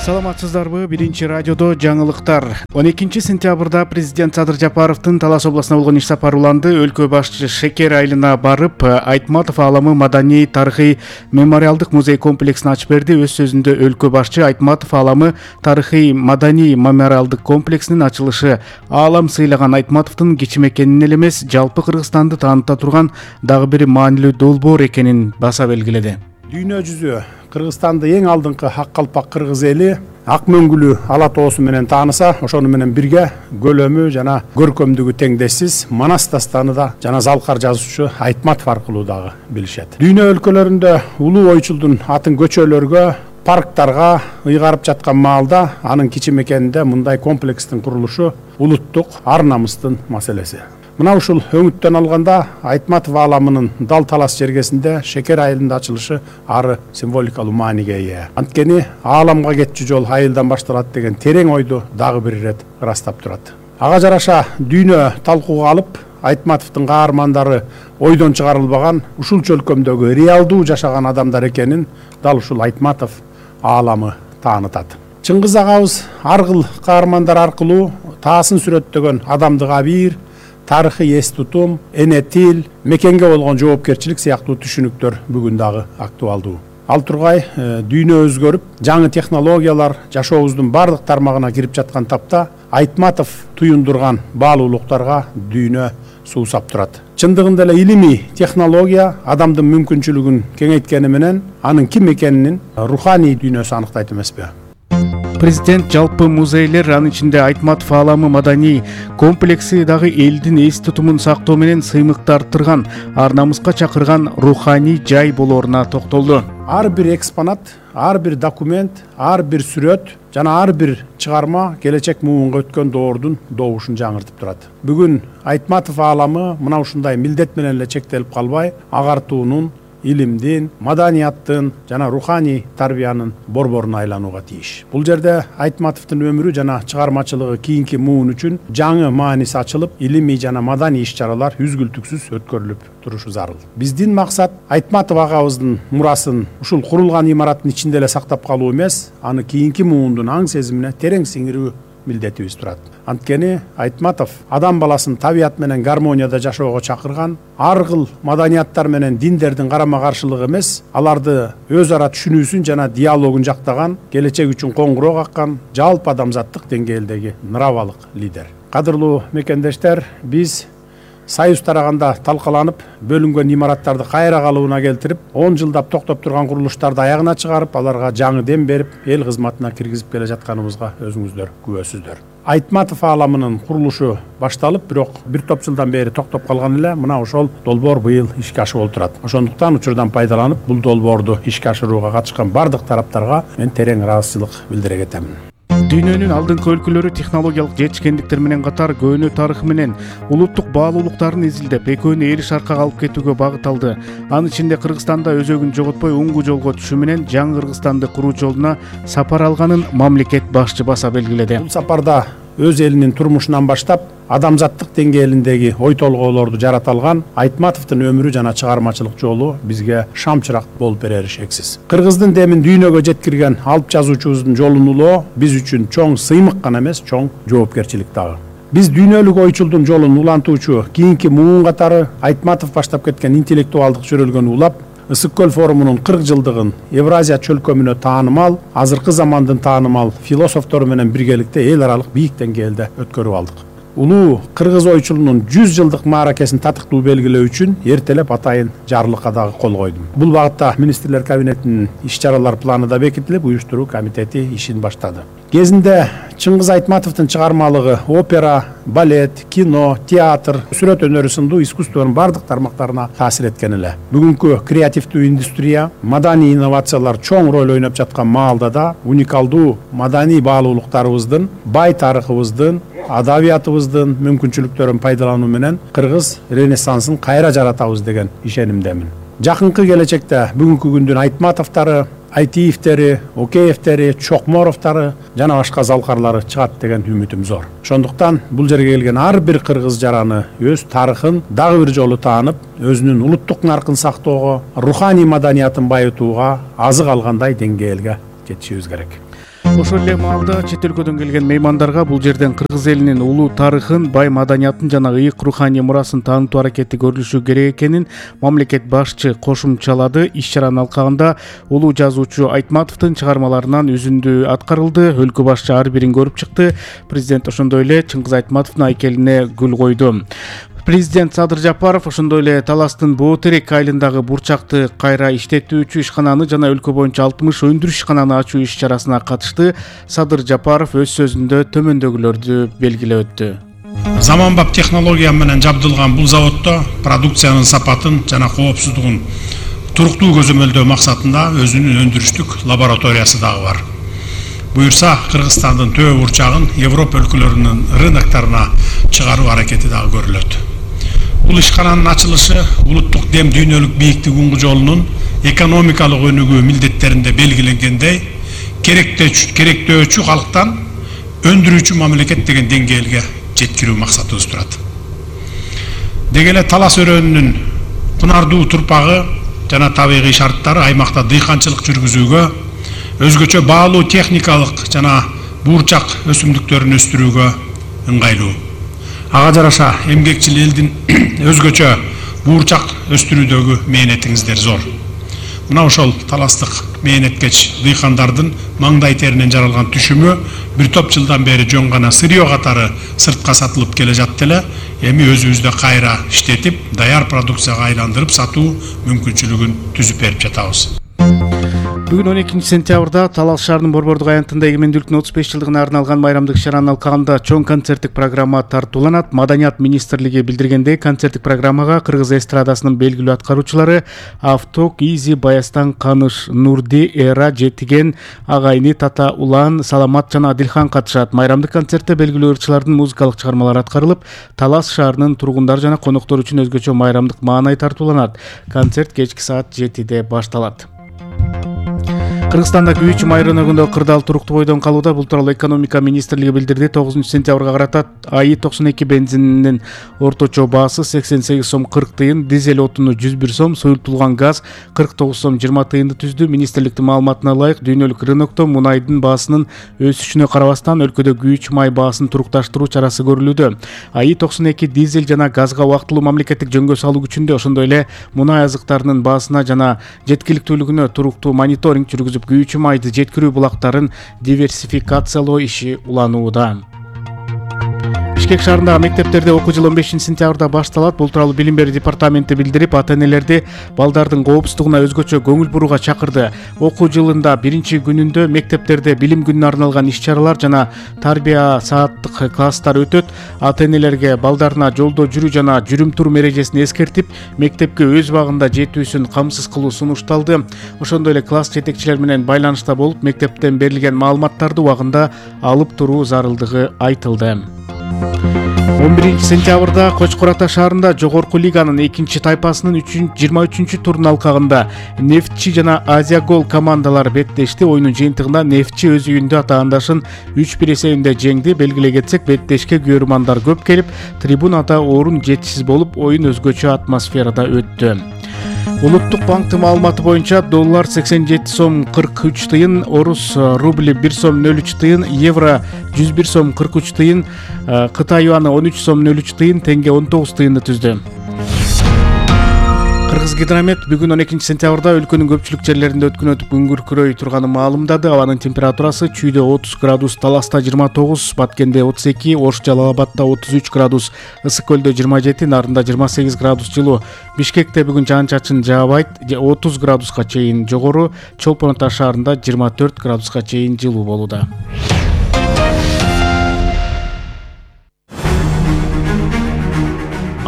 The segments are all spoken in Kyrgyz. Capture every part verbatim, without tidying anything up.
Саламатсыздарбы? Биринчи радиодо жаңылыктар. он экинчи сентябрда президент Садыр Жапаровдун Талас областына болгон иш сапары уланды. Өлкө башчы Шекер айылына барып, Айтматов ааламы маданий тарыхый мемориалдык музей комплексин ачып берди. Өз сөзүндө өлкө башчы Айтматов ааламы тарыхый маданий мемориалдык комплексинин ачылышы аалам сыйлаган Айтматовдун кичим экенин эле эмес, жалпы Кыргызстанды тааныта турган дагы бир маанилүү долбоор экенин баса белгиледи. Дүйнө жүзү Кыргызстанды эң алдыңкы ак калпак кыргыз эли ак мөңгүлүү ала тоосу менен тааныса, ошону менен бирге көлөмү жана көркөмдүгү теңдешсиз Манас дастаны да жана Залкар жазуучу Айтматов аркылуу дагы билишет. Дүйнө өлкөлөрүндө улуу ойчулдун атын көчөлөргө, парктарга ыйгарып жаткан маалда анын кичим экенинде мындай комплекстин курулушу улуттук ар намыстын маселеси. Мына ушул өңүттөн алганда Айтматов ааламынын дал талас жергесинде Шекер айылында ачылышы ары символикалуу мааниге ээ. Анткени ааламга кетчү жол айылдан башталат деген терең ойду дагы бир ирет ырастап турат. Ага жараша дүйнө талкууга алып, Айтматовдун каармандары ойдон чыгарылбаган, ушул чөлкөмдөгү реалдуу жашаган адамдар экенин дал ушул Айтматов ааламы таанытат. Чыңгыз агабыз ар кыл каармандар аркылуу таасын сүрөттөгөн адамдык абийир, тарыхый эс тутум, эне тил, мекенге болгон жоопкерчилик сыяктуу түшүнүктөр бүгүн дагы актуалдуу. Ал тургай дүйнө өзгөрүп, жаңы технологиялар жашообуздун бардык тармагына кирип жаткан тапта Айтматов туюндурган баалуулуктарга дүйнө суусап турат. Чындыгында эле илимий технология адамдын мүмкүнчүлүгүн кеңейткени менен анын ким экенин руханий дүйнөсү аныктайт эмеспи? Президент жалпы музейлер, анын ичинде Айтматов ааламы маданий комплекси дагы элдин эс тутумун сактоо менен сыймыкты арттырган, ар намыска чакырган руханий жай болооруна токтолду. Ар бир экспонат, ар бир документ, ар бир сүрөт жана ар бир чыгарма келечек муунга өткөн доордун добушун жаңыртып турат. Бүгүн Айтматов ааламы мына ушундай милдет менен эле чектелип калбай, агартуунун, илимдин, маданияттын жана руханий тарбиянын борборуна айланууга тийиш. Бул жерде Айтматовдун өмүрү жана чыгармачылыгы кийинки муун үчүн жаңы мааниси ачылып, илимий жана маданий иш-чаралар үзгүлтүксүз өткөрүлүп турушу зарыл. Биздин максат Айтматов агабыздын мурасын ушул курулган имараттын ичинде эле сактап калуу эмес, аны кийинки муундун аң сезимине терең сиңирүү милдетибиз турат. Анткени Айтматов адам баласын табият менен гармонияда жашоого чакырган, ар кыл маданияттар менен диндердин карама каршылыгы эмес, аларды өз ара түшүнүүсүн жана диалогун жактаган, келечек үчүн коңгуроо каккан, жалпы адамзаттык деңгээлдеги нравалык лидер. Кадырлуу мекендештер, биз Союз тараганда талкаланып, бөлүнгөн имараттарды кайра калыбына келтирип, он жылдап токтоп турган курулуштарды аягына чыгарып, аларга жаңы дем берип, эл кызматына киргизип келе жатканыбызга өзүңүздөр күбөсүздөр. Айтматов ааламынын курулушу башталып, бирок бир топ жылдан бери токтоп калган эле, мына ошол долбоор быйыл ишке ашып олтурат. Ошондуктан учурдан пайдаланып, бул долбоорду ишке ашырууга катышкан бардык тараптарга мен терең ыраазычылык билдире кетемин. Дүйнөнүн алдыңкы өлкөлөрү технологиялык жетишкендиктер менен катар көөнө тарыхы менен улуттук баалуулуктарын изилдеп, экөөнү эл шаркага алып кетүүгө багыт алды. Анын ичинде Кыргызстанда өзөгүн жоготпой оңгу жолго түшүү менен жаңы Кыргызстанды куруу жолуна сапар алганын мамлекет башчы баса белгиледи. Бул сапарда өз элинин турмушунан баштап, адамзаттык деңгээлиндеги ой толгоолорду жарата алган Айтматовдун өмүрү жана чыгармачылык жолу бизге шамчырак болуп берери шексиз. Кыргыздын демин дүйнөгө жеткирген алып жазуучубуздун жолун улоо биз үчүн чоң сыймык гана эмес, чоң жоопкерчилик дагы. Биз дүйнөлүк ойчулдун жолун улантуучу кийинки муун катары Айтматов баштап кеткен интеллектуалдык жөрөлгөнү улап, Ысык көл форумунун кырк жылдыгын Евразия чөлкөмүнө таанымал, азыркы замандын таанымал философтору менен биргеликте эл аралык бийик деңгээлде өткөрүп алдык. Улуу кыргыз ойчулунун жүз жылдык мааракесин татыктуу белгилөө үчүн эртелеп атайын жарлыкка дагы кол койдум. Бул багытта министрлер кабинетинин иш-чаралар планы да бекитилип, уюштуруу комитети ишин баштады. Кезинде Чыңгыз Айтматовдун чыгармалыгы опера, балет, кино, театр, сүрөт өнөрү сындуу искусствонун бардык тармактарына таасир эткен эле. Бүгүнкү креативдүү индустрия, маданий инновациялар чоң роль ойноп жаткан маалда да уникалдуу маданий баалуулуктарыбыздын, бай тарыхыбыздын, адабиятыбыздын мүмкүнчүлүктөрүн пайдалануу менен кыргыз ренессансын кайра жаратабыз деген ишенимдемин. Жакынкы келечекте бүгүнкү күндүн Айтматовдору, Айтиевтери, Океевтери, Чокморовдору жана башка залкарлары чыгат деген үмүтүм зор. Ошондуктан бул жерге келген ар бир кыргыз жараны өз тарыхын дагы бир жолу таанып, өзүнүн улуттук наркын сактоого, руханий маданиятын байытууга азык алгандай деңгээлге жетишибиз керек. Ошол эле маалда чет өлкөдөн келген меймандарга бул жерден кыргыз элинин улуу тарыхын, бай маданиятын жана ыйык руханий мурасын таанытуу аракети көрүлүшү керек экенин мамлекет башчы кошумчалады. Иш-чаранын алкагында улуу жазуучу Айтматовдун чыгармаларынан үзүндү аткарылды. Өлкө башчы ар бирин көрүп чыкты. Президент ошондой эле Чыңгыз Айтматовдун айкелине гүл койду. Президент Садыр Жапаров ошондой эле Таластын Боотерек айылындагы бурчакты кайра иштетүүчү ишкананы жана өлкө боюнча алтымыш өндүрүш ишкананы ачуу иш-чарасына катышты. Садыр Жапаров өз сөзүндө төмөндөгүлөрдү белгилеп өттү. Заманбап технология менен жабдылган бул заводдо продукциянын сапатын жана коопсуздугун туруктуу көзөмөлдөө максатында өзүнүн өндүрүштүк лабораториясы дагы бар. Буюрса, Кыргызстандын төө бурчагын Европа өлкөлөрүнүн рыноктарына чыгаруу аракети дагы көрүлөт. Бул ишкананын ачылышы улуттук дем дүйнөлүк бийиктик уңгу жолунун экономикалык өнүгүү милдеттеринде белгиленгендей керектөөчү калктан өндүрүүчү мамлекет деген деңгээлге жеткирүү максатыбыз турат. Деги эле Талас өрөөнүнүн кунардуу турпагы жана табигый шарттары аймакта дыйканчылык жүргүзүүгө, өзгөчө баалуу техникалык жана буурчак өсүмдүктөрүн өстүрүүгө ыңгайлуу. Ага жараша эмгекчил элдин өзгөчө буурчак өстүрүүдөгү мээнетиңиздер зор. Мына ошол таластык мээнеткеч дыйкандардын маңдай теринен жаралган түшүмү бир топ жылдан бери жөн гана сырьё катары сыртка сатылып келе жатты эле. Эми өзүбүздө кайра иштетип, даяр продукцияга айландырып сатуу мүмкүнчүлүгүн түзүп берип жатабыз. Бүгүн он экинчи сентябрда Талас шаарынын Борбордук аянтында эгемендүүлүктүн отуз беш жылдыгына арналган майрамдык иш-чаранын алкагында чоң концерттик программа тартууланат. Маданият министрлиги билдиргендей, концерттик программага кыргыз эстрадасынын белгилүү аткаруучулары Авток, Изи, Баястан, Каныш, Нурди, Эра, Жетиген, Агайны, Тата, Улан, Саламат жана Адилхан катышат. Майрамдык концертте белгилүү ырчылардын музыкалык чыгармалары аткарылып, Талас шаарынын тургундары жана коноктор үчүн өзгөчө майрамдык маанай тартууланат. Концерт кечки саат жетиде башталат. Кыргызстанда күйүүчү май рыногунда кырдаал туруктуу бойдон калууда. Бул тууралуу экономика министрлиги билдирди. тогузунчу сентябрга карата АИ токсон эки бензининин орточо баасы сексен сегиз сом кырк тыйын, дизель отуну жүз бир сом, суюлтулган газ кырк тогуз сом жыйырма тыйынды түздү. Министрликтин маалыматына ылайык, дүйнөлүк рынокто мунайдын баасынын өсүшүнө карабастан өлкөдө күйүүчү май баасын турукташтыруу чарасы көрүлүүдө. АИ токсон эки дизель жана газга убактылуу мамлекеттик жөнгө салуу күчүндө, ошондой эле мунай азыктарынын баасына жана жеткиликтүүлүгүнө туруктуу мониторинг жүргүзүп, күйүүчү майды жеткирүү булактарын диверсификациялоо иши уланууда. Бишкек шаарындагы мектептерде окуу жылы он бешинчи сентябрда башталат. Бул тууралуу Билим берүү департаменти билдирип, ата-энелерди балдардын коопсуздугуна өзгөчө көңүл бурууга чакырды. Окуу жылында биринчи күнүндө мектептерде билим күнүнө арналган иш-чаралар жана тарбия сааттык класстар өтөт. Ата-энелерге балдарына жолдо жүрүү жана жүрүм-турум эрежесин эскертип, мектепке өз убагында жетүүсүн камсыз кылуу сунушталды. Ошондой эле класс жетекчилер менен байланышта болуп, мектептен берилген маалыматтарды убагында алып туруу зарылдыгы айтылды. он биринчи сентябрда Кочкор Ата шаарында жогорку лиганын экинчи тайпасынын жыйырма үчүнчү турунун алкагында Нефтчи жана Азия Гол командалары беттешти. Оюнун жыйынтыгында Нефтчи өз үйүндө атаандашын үч бир эсебинде жеңди. Белгилей кетсек, беттешке күбөрмандар көп келип, трибунада орун жетишсиз болуп, оюн өзгөчө атмосферада өттү. Улуттук банктын маалыматы боюнча доллар сексен жети сом кырк үч тыйын, орус рубли бир сом нөл үч тыйын, евро жүз бир сом кырк үч тыйын, Кытай юаны он үч сом нөл үч тыйын, тенге он тогуз тыйынды түздү. Кыргызгидромет бүгүн он экинчи сентябрда өлкөнүн көпчүлүк жерлеринде өткөн өтүп күңгүркүрөй турганын маалымдады. Абанын температурасы чүйдө отуз градус, Таласта жыйырма тогуз, Баткенде отуз эки, Ош Жалал Абадта отуз үч градус, Ысык көлдө жыйырма жети, Нарында жыйырма сегиз градус жылуу. Бишкекте бүгүн жаан-чачын жаабайт, отуз градуска чейин жогору, Чолпон Ата шаарында жыйырма төрт градуска чейин жылуу болууда.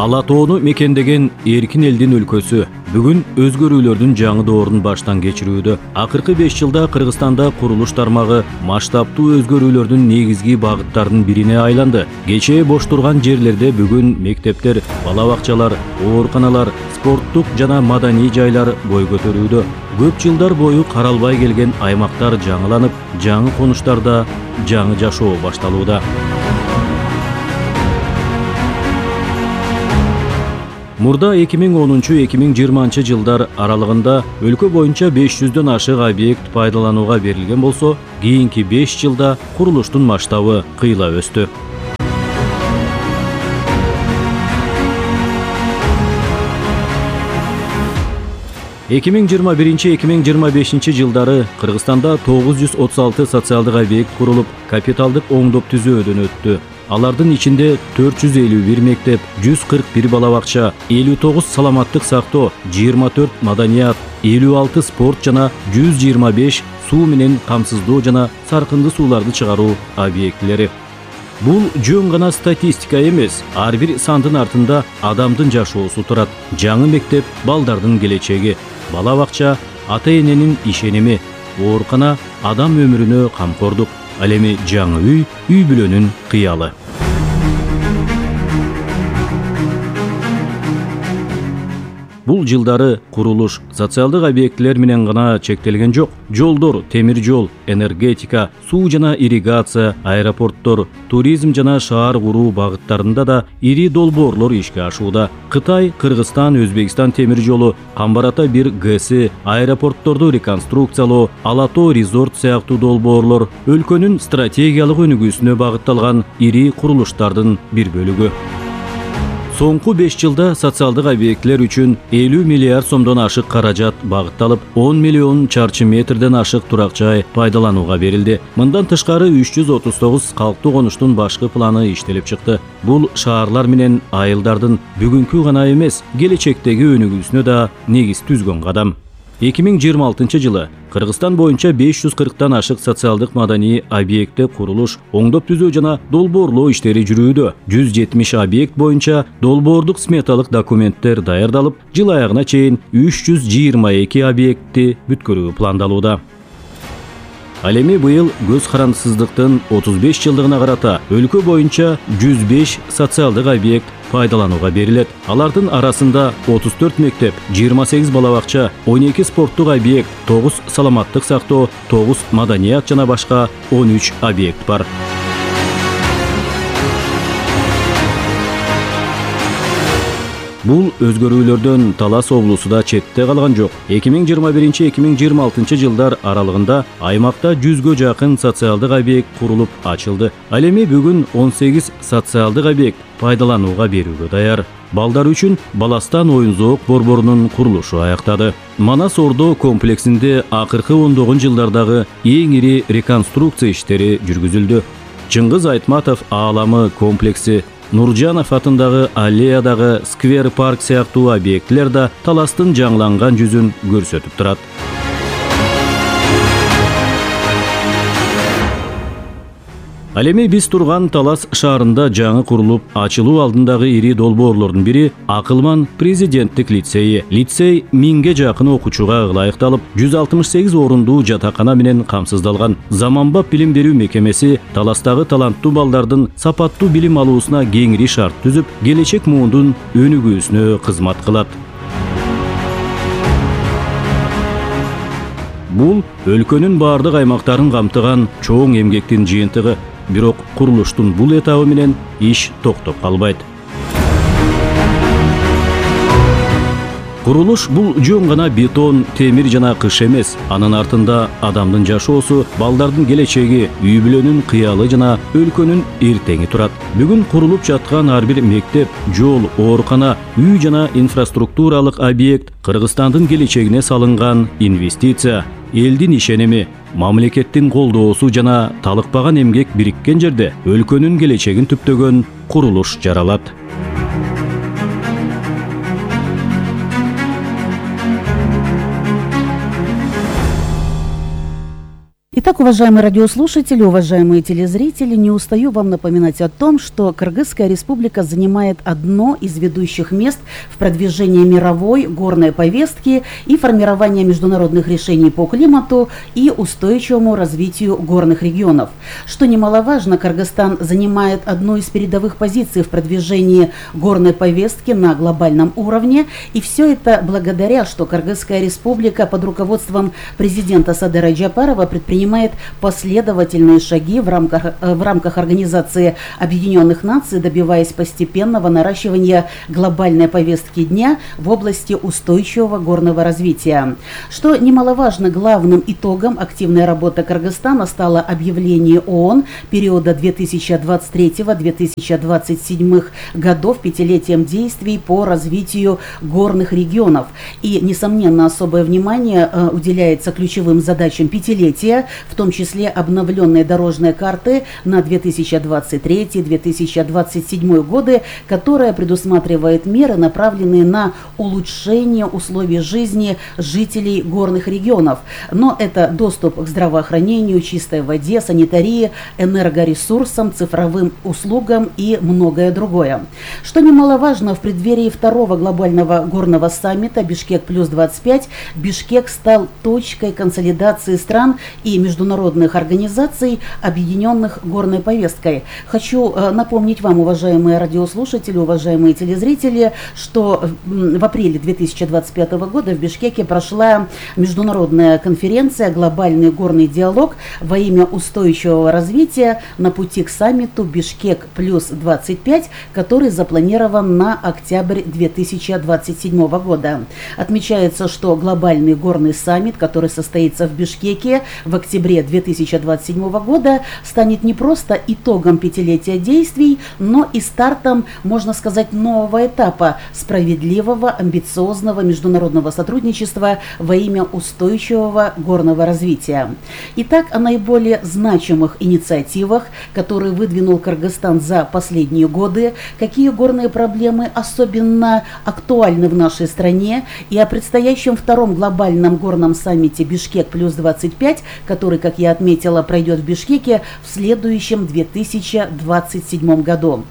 Ала тоону мекендеген эркин элдин өлкөсү бүгүн өзгөрүүлөрдүн жаңы доорун баштан кечирүүдө. Акыркы беш жылда Кыргызстанда курулуш тармагы масштабтуу өзгөрүүлөрдүн негизги багыттарынын бирине айланды. Кечээ бош турган жерлерде бүгүн мектептер, бала бакчалар, ооруканалар, спорттук жана маданий жайлар бой көтөрүүдө. Көп жылдар бою каралбай келген аймактар жаңыланып, жаңы конуштарда жаңы жашоо башталууда. Мурда эки миң онунчу эки миң жыйырманчы жылдар аралыгында өлкө боюнча беш жүздөн ашык объект пайдаланууга берилген болсо, кийинки беш жылда курулуштун масштабы кыйла өстү. эки миң жыйырма биринчи эки миң жыйырма бешинчи жылдары Кыргызстанда тогуз жүз отуз алты социалдык объект курулуп, капиталдык оңдоп түзөөдөн өттү. Алардын ичинде төрт жүз элүү бир мектеп, жүз кырк бир бала бакча, элүү тогуз саламаттык сактоо, жыйырма төрт маданият, элүү алты спорт жана жүз жыйырма беш суу менен камсыздоо жана саркынды сууларды чыгаруу объектилери. Бул жөн гана статистика эмес, ар бир сандын артында адамдын жашоосу турат. Жаңы мектеп балдардын келечеги, бала бакча ата-эненин ишеними, оорукана адам өмүрүнө камкордук, ал эми жаңы үй, үй бүлөнүн кыялы. Бул жылдары курулуш социалдык объектилер менен гана чектелген жок. Жолдор, темир жол, энергетика, суу жана ирригация, аэропорттор, туризм жана шаар куруу багыттарында да ири долбоорлор ишке ашууда. Кытай, Кыргызстан, Өзбекстан темир жолу, Камбар-Ата бир ГЭСи, аэропортторду реконструкциялоо, Ала-Тоо резорт сыяктуу долбоорлор өлкөнүн стратегиялык өнүгүүсүнө багытталган ири курулуштардын бир бөлүгү. Соңку беш жылда социалдык объектилер үчүн элүү миллиард сомдон ашык каражат багытталып, он миллион чарчы метрден ашык турак жай пайдаланууга берилди. Мындан тышкары үч жүз отуз тогуз калктуу конуштун башкы планы иштелип чыкты. Бул шаарлар менен айылдардын бүгүнкү гана эмес, келечектеги өнүгүүсүнө да негиз түзгөн кадам. эки миң жыйырма алтынчы жылы Кыргызстан боюнча беш жүз кырктан ашык социалдык маданий объектте курулуш, оңдоп түзөө жана долбоорлоо иштери жүрүүдө. жүз жетимиш объект боюнча долбоордук сметалык документтер даярдалып, жыл аягына чейин үч жүз жыйырма эки объектти бүткөрүү пландалууда. Ал эми быйыл көз карандысыздыктын отуз беш жылдыгына карата өлкө боюнча жүз беш социалдык объект пайдаланууга берилет. Алардын арасында отуз төрт мектеп, жыйырма сегиз бала бакча, он эки спорттук объект, тогуз саламаттык сактоо, тогуз маданият жана башка он үч объект бар. Бул өзгөрүүлөрдөн Талас облусу да четте калган жок. эки миң жыйырма биринчи эки миң жыйырма алтынчы жылдар аралыгында аймакта жүзгө жакын социалдык объект курулуп ачылды. Ал эми бүгүн он сегиз социалдык объект пайдаланууга берүүгө даяр. Балдар үчүн Баластан оюн-зоок борборунун курулушу аяктады. Манас Ордо комплексинде акыркы ондогун жылдардагы эң ири реконструкция иштери жүргүзүлдү. Чыңгыз Айтматов ааламы комплекси, Нуржанов атындагы аллеядагы сквер парк сыяктуу объектилер да Таластын жаңыланган жүзүн көрсөтүп турат. Ал эми биз турган Талас шаарында жаңы курулуп ачылуу алдындагы ири долбоорлордун бири Акылман президенттик лицейи. Лицей миңге жакын окуучуга ылайыкталып, жүз алтымыш сегиз орундуу жатакана менен камсыздалган. Заманбап билим берүү мекемеси Таластагы таланттуу балдардын сапаттуу билим алуусуна кеңири шарт түзүп, келечек муундун өнүгүүсүнө кызмат кылат. Бул өлкөнүн баардык аймактарын камтыган чоң эмгектин жыйынтыгы. Бирок курулуштун бул этабы менен иш токтоп калбайт. Курулуш бул жөн гана бетон, темир жана кыш эмес. Анын артында адамдын жашоосу, балдардын келечеги, үй бүлөнүн кыялы жана өлкөнүн эртеңи турат. Бүгүн курулуп жаткан ар бир мектеп, жол, оорукана, үй жана инфраструктуралык объект Кыргызстандын келечегине салынган инвестиция, элдин ишеними, мамлекеттин колдоосу жана талыкпаган эмгек бириккен жерде өлкөнүн келечегин түптөгөн курулуш жаралат. Итак, уважаемые радиослушатели, уважаемые телезрители, не устаю вам напоминать о том, что Кыргызская республика занимает одно из ведущих мест в продвижении мировой горной повестки и формировании международных решений по климату и устойчивому развитию горных регионов. Что немаловажно, Кыргызстан занимает одну из передовых позиций в продвижении горной повестки на глобальном уровне, и все это благодаря, что Кыргызская республика под руководством президента Садыра Джапарова предпринимает предпринимает последовательные шаги в рамках, в рамках Организации Объединенных Наций, добиваясь постепенного наращивания глобальной повестки дня в области устойчивого горного развития. Что немаловажно, главным итогом активной работы Кыргызстана стало объявление ООН периода две тысячи двадцать третьего — две тысячи двадцать седьмого годов пятилетием действий по развитию горных регионов. И, несомненно, особое внимание э, уделяется ключевым задачам пятилетия, в том числе обновленной дорожной карты на две тысячи двадцать третий — две тысячи двадцать седьмой годы, которая предусматривает меры, направленные на улучшение условий жизни жителей горных регионов. Но это доступ к здравоохранению, чистой воде, санитарии, энергоресурсам, цифровым услугам и многое другое. Что немаловажно, в преддверии второго глобального горного саммита «Бишкек плюс двадцать пять» Бишкек стал точкой консолидации стран и международных организаций, объединенных горной повесткой. Хочу э, напомнить вам, уважаемые радиослушатели, уважаемые телезрители, что в апреле две тысячи двадцать пятого года в Бишкеке прошла международная конференция «Глобальный горный диалог во имя устойчивого развития на пути к саммиту Бишкек плюс двадцать пять», который запланирован на октябрь две тысячи двадцать седьмого года. Отмечается, что глобальный горный саммит, который состоится в Бишкеке в октябре две тысячи двадцать седьмого года, станет не просто итогом пятилетия действий, но и стартом, можно сказать, нового этапа справедливого, амбициозного международного сотрудничества во имя устойчивого горного развития. Итак, о наиболее значимых инициативах, которые выдвинул Кыргызстан за последние годы, какие горные проблемы особенно актуальны в нашей стране, и о предстоящем втором глобальном горном саммите Бишкек плюс двадцать пять, который, как я отметила, пройдет в Бишкеке в следующем две тысячи двадцать седьмом году.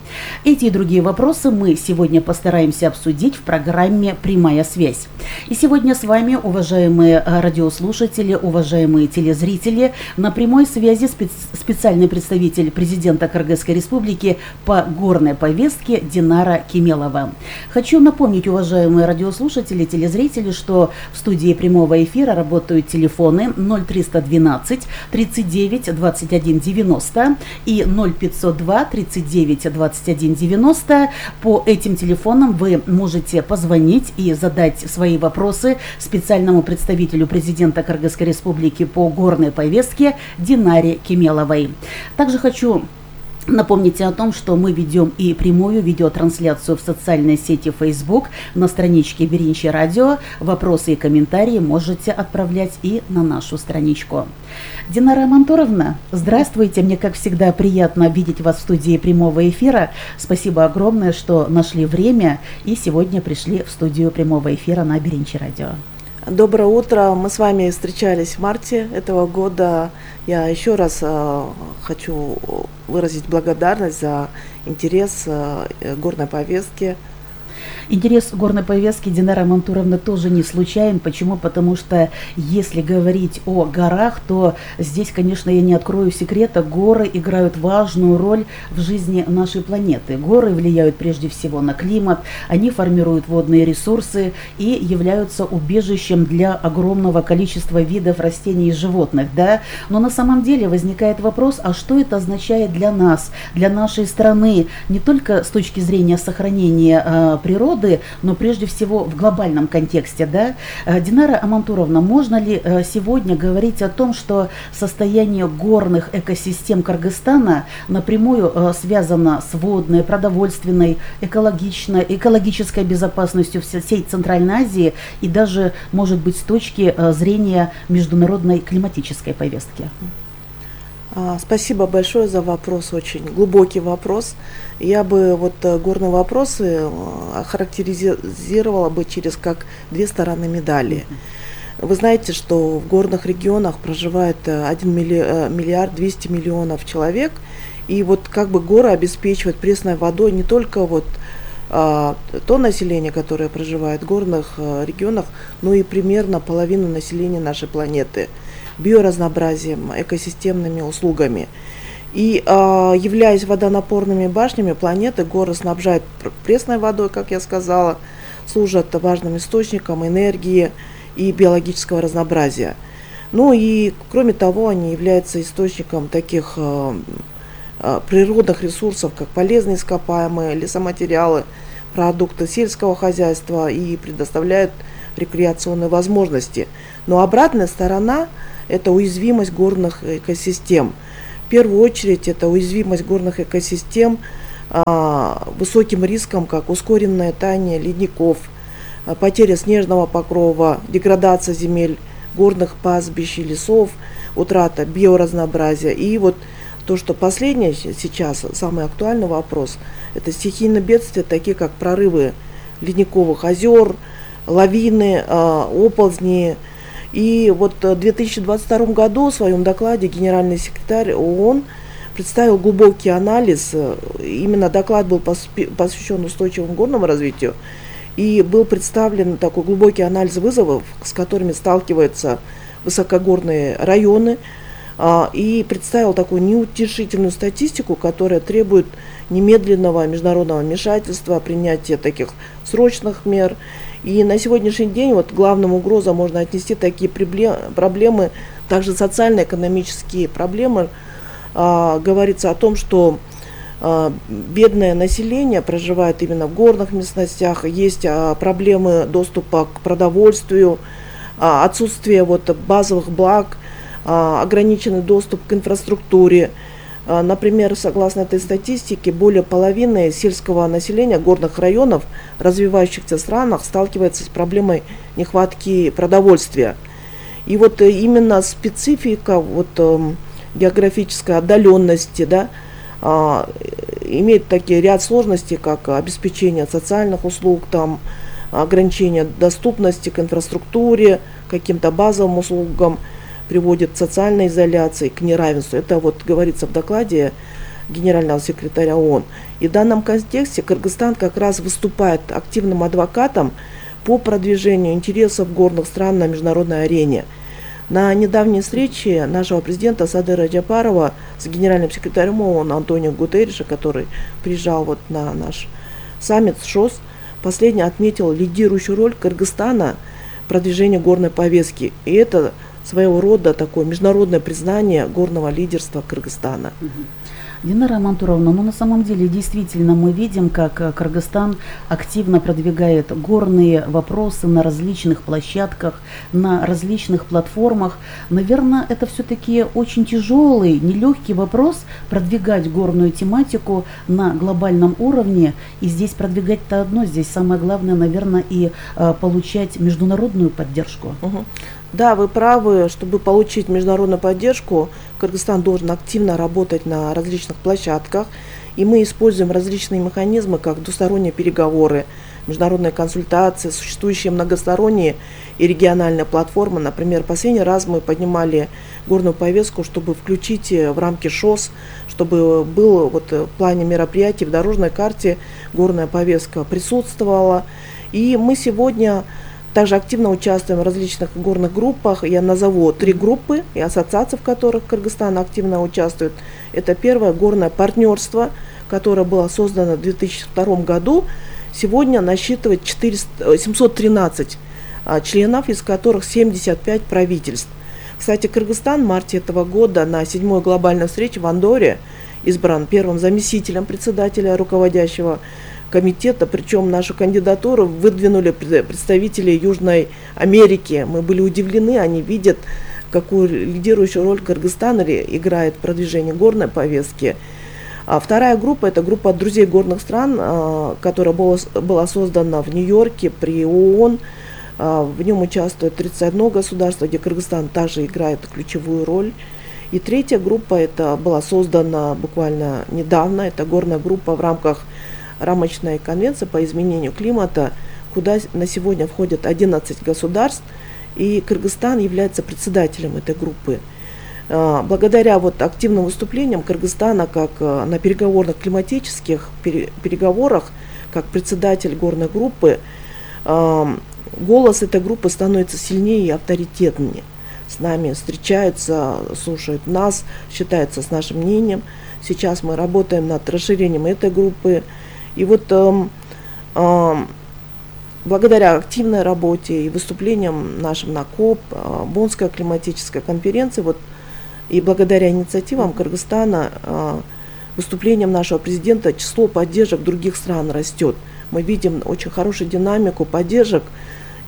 Эти и другие вопросы мы сегодня постараемся обсудить в программе «Прямая связь». И сегодня с вами, уважаемые радиослушатели, уважаемые телезрители, на прямой связи специ- специальный представитель президента Кыргызской Республики по горной повестке Динара Кемелова. Хочу напомнить, уважаемые радиослушатели, телезрители, что в студии прямого эфира работают телефоны ноль триста двенадцать тридцать девять двадцать один девяносто и ноль пятьсот два тридцать девять двадцать один девяносто. По этим телефонам вы можете позвонить и задать свои вопросы специальному представителю президента Кыргызской Республики по горной повестке Динаре Кемеловой. Также хочу напомните о том, что мы ведем и прямую видеотрансляцию в социальной сети Facebook на страничке Биринчи Радио. Вопросы и комментарии можете отправлять и на нашу страничку. Динара Мантуровна, здравствуйте. Мне, как всегда, приятно видеть вас в студии прямого эфира. Спасибо огромное, что нашли время и сегодня пришли в студию прямого эфира на Биринчи Радио. Доброе утро. Мы с вами встречались в марте этого года. Я еще раз э, хочу выразить благодарность за интерес э, горной повестки. Интерес горной повестки, Динара Мантуровна, тоже не случайен. Почему? Потому что если говорить о горах, то здесь, конечно, я не открою секрета, горы играют важную роль в жизни нашей планеты. Горы влияют прежде всего на климат, они формируют водные ресурсы и являются убежищем для огромного количества видов растений и животных. Да? Но на самом деле возникает вопрос, а что это означает для нас, для нашей страны, не только с точки зрения сохранения э, природы, но прежде всего в глобальном контексте. Да? Динара Амантуровна, можно ли сегодня говорить о том, что состояние горных экосистем Кыргызстана напрямую связано с водной, продовольственной, экологичной, экологической безопасностью всей Центральной Азии и даже, может быть, с точки зрения международной климатической повестки? Спасибо большое за вопрос, очень глубокий вопрос. Я бы вот горные вопросы охарактеризировала бы через как две стороны медали. Вы знаете, что в горных регионах проживает один миллиард двести миллионов человек, и вот как бы горы обеспечивают пресной водой не только вот а, то население, которое проживает в горных а, регионах, но и примерно половину населения нашей планеты, биоразнообразием, экосистемными услугами. И э, являясь водонапорными башнями планеты, горы снабжают пресной водой, как я сказала, служат важным источником энергии и биологического разнообразия. Ну и, кроме того, они являются источником таких э, э, природных ресурсов, как полезные ископаемые, лесоматериалы, продукты сельского хозяйства и предоставляют рекреационные возможности. Но обратная сторона – это уязвимость горных экосистем. В первую очередь это уязвимость горных экосистем э, высоким риском, как ускоренное таяние ледников, э, потеря снежного покрова, деградация земель, горных пастбищ и лесов, утрата биоразнообразия. И вот то, что последнее сейчас, самый актуальный вопрос, это стихийные бедствия, такие как прорывы ледниковых озер, лавины, оползни. И вот в две тысячи двадцать втором году в своем докладе генеральный секретарь ООН представил глубокий анализ. Именно доклад был посвящен устойчивому горному развитию. И был представлен такой глубокий анализ вызовов, с которыми сталкиваются высокогорные районы, и представил такую неутешительную статистику, которая требует немедленного международного вмешательства, принятия таких срочных мер. И на сегодняшний день вот главным угрозам можно отнести такие проблемы, также социально-экономические проблемы. Говорится о том, что бедное население проживает именно в горных местностях, есть проблемы доступа к продовольствию, отсутствие вот базовых благ, ограниченный доступ к инфраструктуре. Например, согласно этой статистике, более половины сельского населения горных районов в развивающихся странах сталкивается с проблемой нехватки продовольствия. И вот именно специфика вот, географической отдаленности, да, имеет такие ряд сложностей, как обеспечение социальных услуг, там, ограничение доступности к инфраструктуре, каким-то базовым услугам, приводит к социальной изоляции, к неравенству. Это вот говорится в докладе генерального секретаря ООН. И в данном контексте Кыргызстан как раз выступает активным адвокатом по продвижению интересов горных стран на международной арене. На недавней встрече нашего президента Садыра Джапарова с генеральным секретарем ООН Антонио Гутерриша, который приезжал вот на наш саммит ШОС, последний отметил лидирующую роль Кыргызстана в продвижении горной повестки. И это своего рода такое международное признание горного лидерства Кыргызстана. Динара Мантуровна, ну на самом деле действительно мы видим, как Кыргызстан активно продвигает горные вопросы на различных площадках, на различных платформах. Наверное, это все-таки очень тяжелый, нелегкий вопрос продвигать горную тематику на глобальном уровне. И здесь продвигать-то одно, здесь самое главное, наверное, и э, получать международную поддержку. Угу. Да, вы правы, чтобы получить международную поддержку, Кыргызстан должен активно работать на различных площадках, и мы используем различные механизмы, как двусторонние переговоры, международные консультации, существующие многосторонние и региональные платформы. Например, последний раз мы поднимали горную повестку, чтобы включить в рамки ШОС, чтобы было вот в плане мероприятий в дорожной карте горная повестка присутствовала. И мы сегодня также активно участвуем в различных горных группах. Я назову три группы и ассоциации, в которых Кыргызстан активно участвует. Это первое горное партнерство, которое было создано в две тысячи втором году. Сегодня насчитывает четыреста, семьсот тринадцать а, членов, из которых семьдесят пять правительств. Кстати, Кыргызстан в марте этого года на седьмой глобальной встрече в Андорре избран первым заместителем председателя руководящего комитета, причем нашу кандидатуру выдвинули представители Южной Америки. Мы были удивлены, они видят, какую лидирующую роль Кыргызстан играет в продвижении горной повестки. А вторая группа – это группа друзей горных стран, которая была, была создана в Нью-Йорке при ООН. В нем участвует тридцать одно государство, где Кыргызстан также играет ключевую роль. И третья группа это была создана буквально недавно, это горная группа в рамках рамочной конвенции по изменению климата, куда на сегодня входят одиннадцать государств, и Кыргызстан является председателем этой группы. Благодаря вот активным выступлениям Кыргызстана как на переговорных климатических переговорах, как председатель горной группы, голос этой группы становится сильнее и авторитетнее. С нами встречаются, слушают нас, считаются с нашим мнением. Сейчас мы работаем над расширением этой группы. И вот э, э, благодаря активной работе и выступлениям нашим на КОП, Боннской климатической конференции, вот, и благодаря инициативам Кыргызстана, выступлениям нашего президента, число поддержек других стран растет. Мы видим очень хорошую динамику поддержек.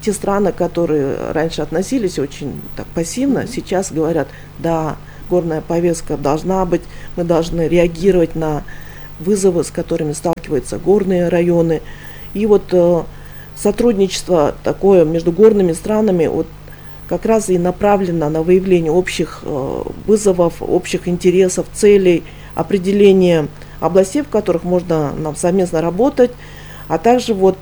Те страны, которые раньше относились очень так пассивно, сейчас говорят, да, горная повестка должна быть, мы должны реагировать на вызовы, с которыми сталкиваются горные районы. И вот э, сотрудничество такое между горными странами вот, как раз и направлено на выявление общих э, вызовов, общих интересов, целей, определение областей, в которых можно нам совместно работать, а также вот,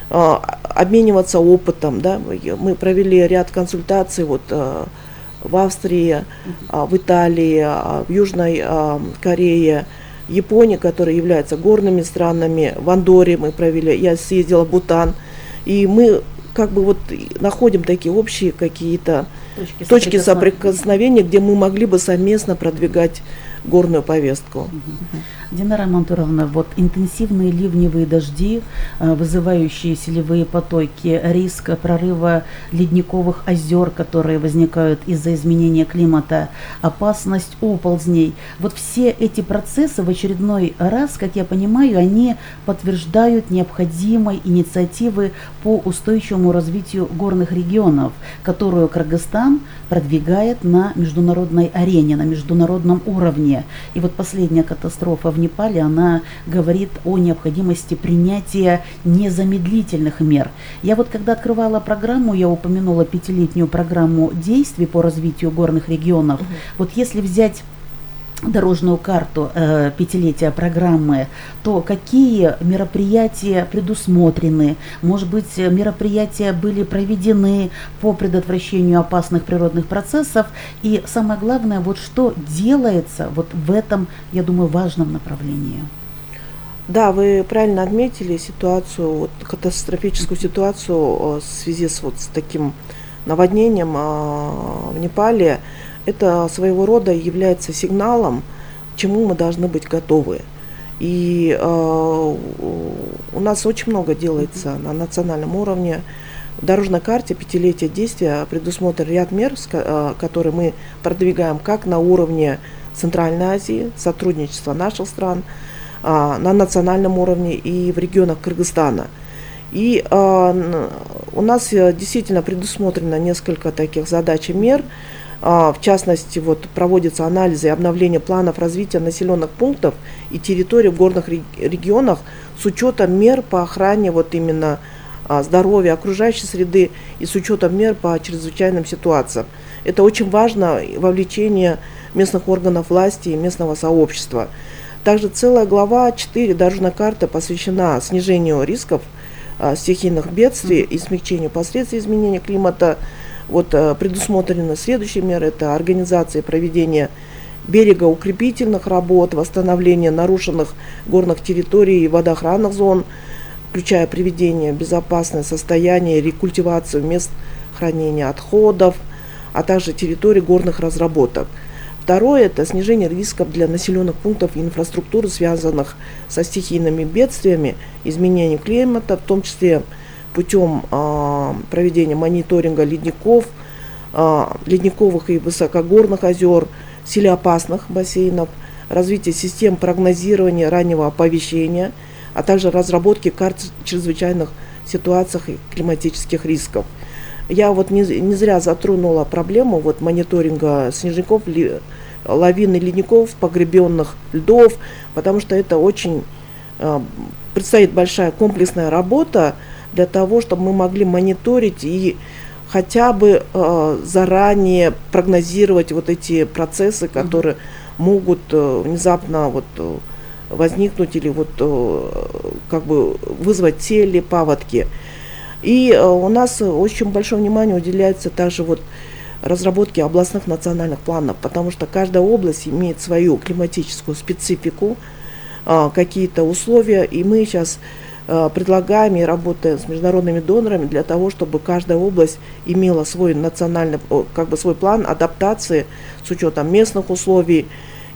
э, обмениваться опытом. Да? Мы провели ряд консультаций вот, э, в Австрии, э, в Италии, э, в Южной э, Корее, Японии, которые являются горными странами, в Андорре мы провели, я съездила в Бутан, и мы как бы вот находим такие общие какие-то точки, точки соприкосновения, где мы могли бы совместно продвигать горную повестку. Динара Мантуровна, вот интенсивные ливневые дожди, вызывающие селевые потоки, риск прорыва ледниковых озер, которые возникают из-за изменения климата, опасность оползней. Вот все эти процессы в очередной раз, как я понимаю, они подтверждают необходимой инициативы по устойчивому развитию горных регионов, которую Кыргызстан продвигает на международной арене, на международном уровне. И вот последняя катастрофа в Непале, она говорит о необходимости принятия незамедлительных мер. Я вот когда открывала программу, я упомянула пятилетнюю программу действий по развитию горных регионов. Угу. Вот если взять дорожную карту э, пятилетия программы, то какие мероприятия предусмотрены? Может быть, мероприятия были проведены по предотвращению опасных природных процессов? И самое главное, вот что делается вот в этом, я думаю, важном направлении? Да, вы правильно отметили ситуацию, вот, катастрофическую ситуацию в связи с, вот, с таким наводнением в Непале. Это своего рода является сигналом, к чему мы должны быть готовы. И э, у нас очень много делается на национальном уровне. В дорожной карте пятилетия действия предусмотрен ряд мер, которые мы продвигаем как на уровне Центральной Азии, сотрудничества наших стран, на национальном уровне и в регионах Кыргызстана. И э, у нас действительно предусмотрено несколько таких задач и мер. В частности, вот, проводятся анализы и обновление планов развития населенных пунктов и территорий в горных регионах с учетом мер по охране вот, именно здоровья окружающей среды и с учетом мер по чрезвычайным ситуациям. Это очень важно, вовлечение местных органов власти и местного сообщества. Также целая глава четыре дорожной карты посвящена снижению рисков стихийных бедствий и смягчению последствий изменения климата. Вот предусмотрены следующие меры: это организация и проведение берегоукрепительных работ, восстановление нарушенных горных территорий и водоохранных зон, включая приведение в безопасное состояние, рекультивацию мест хранения отходов, а также территорий горных разработок. Второе – это снижение рисков для населенных пунктов и инфраструктуры, связанных со стихийными бедствиями, изменением климата, в том числе путем э, проведения мониторинга ледников, э, ледниковых и высокогорных озер, селеопасных бассейнов, развитие систем прогнозирования раннего оповещения, а также разработки карт чрезвычайных ситуаций и климатических рисков. Я вот не, не зря затронула проблему вот, мониторинга снежников, ли, лавин и ледников, погребенных льдов, потому что это очень э, предстоит большая комплексная работа для того, чтобы мы могли мониторить и хотя бы э, заранее прогнозировать вот эти процессы, которые mm-hmm. могут э, внезапно вот, э, возникнуть или вот, э, как бы вызвать сели, паводки. И э, у нас очень большое внимание уделяется также вот разработке областных национальных планов, потому что каждая область имеет свою климатическую специфику, э, какие-то условия, и мы сейчас предлагаем и работаем с международными донорами для того, чтобы каждая область имела свой национальный, как бы свой план адаптации с учетом местных условий,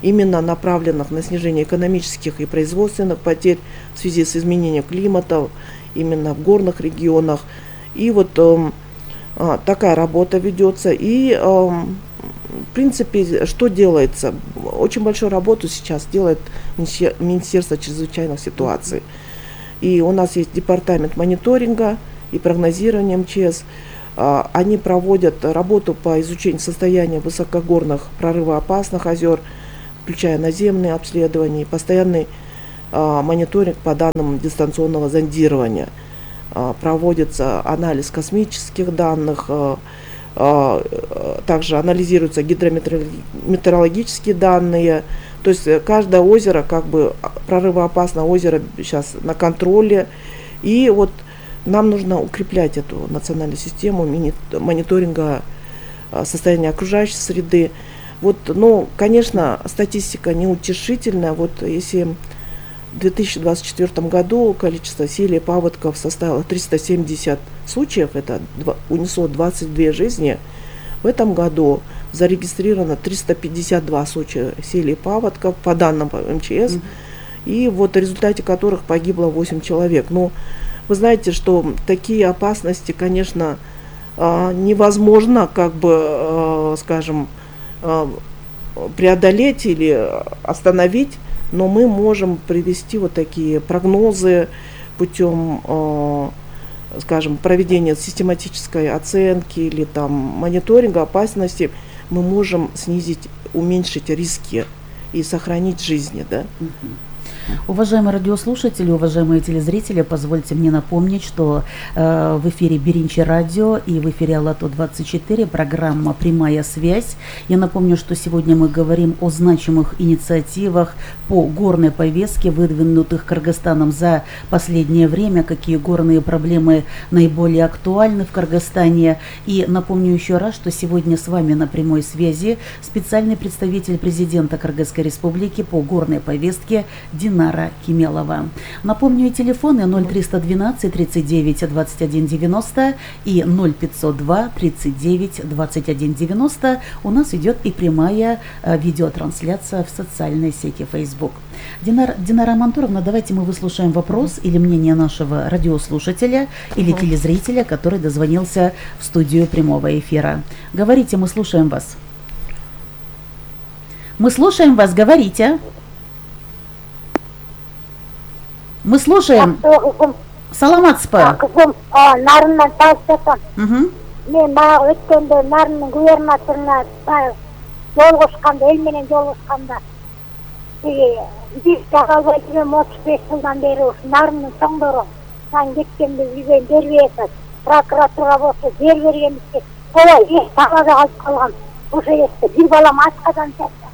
именно направленных на снижение экономических и производственных потерь в связи с изменением климата именно в горных регионах. И вот э, такая работа ведется. И, э, в принципе, что делается? Очень большую работу сейчас делает Министерство чрезвычайных ситуаций. И у нас есть департамент мониторинга и прогнозирования эм че эс. Они проводят работу по изучению состояния высокогорных прорывоопасных озер, включая наземные обследования, постоянный мониторинг по данным дистанционного зондирования. Проводится анализ космических данных, также анализируются гидрометеорологические данные. То есть каждое озеро, как бы прорывоопасное озеро сейчас на контроле. И вот нам нужно укреплять эту национальную систему мониторинга состояния окружающей среды. Вот, ну, конечно, статистика неутешительная. Вот если в две тысячи двадцать четвёртом году количество селей и паводков составило триста семьдесят случаев, это унесло двадцать две жизни. В этом году зарегистрировано триста пятьдесят два случая селей и паводков по данным эм че эс, mm-hmm. и вот в результате которых погибло восемь человек. Ну, вы знаете, что такие опасности, конечно, невозможно, как бы, скажем, преодолеть или остановить, но мы можем привести вот такие прогнозы путем, скажем, проведения систематической оценки или там мониторинга опасности. Мы можем снизить, уменьшить риски и сохранить жизни, да. Уважаемые радиослушатели, уважаемые телезрители, позвольте мне напомнить, что э, в эфире Биринчи радио и в эфире Алато двадцать четыре программа «Прямая связь». Я напомню, что сегодня мы говорим о значимых инициативах по горной повестке, выдвинутых Кыргызстаном за последнее время, какие горные проблемы наиболее актуальны в Кыргызстане. И напомню еще раз, что сегодня с вами на прямой связи специальный представитель президента Кыргызской республики по горной повестке Динара Кемелова. Напомню, и телефоны ноль триста двенадцать тридцать девять двадцать один девяносто и ноль пятьсот два тридцать девять двадцать один девяносто. У нас идет и прямая э, видеотрансляция в социальной сети Facebook. Динар, Динара Мантуровна, давайте мы выслушаем вопрос или мнение нашего радиослушателя или телезрителя, который дозвонился в студию прямого эфира. Говорите, мы слушаем вас. Мы слушаем вас, говорите. Мы слушаем. Саламатспа. Кызым, нарындан тастатам. Мен баягы өткөндө нарынын губернаторуна жолугушканда, эл менен жолугушканда, биз жага албай жүрөм отуз беш жылдан бери ушу нарынын чоңдору сан кеткенди билген бербейатат. Прокуратурага болсо жер бергенбизге ой, эч талада калып калган. Ошо жерде бир балам ачкадан жатты.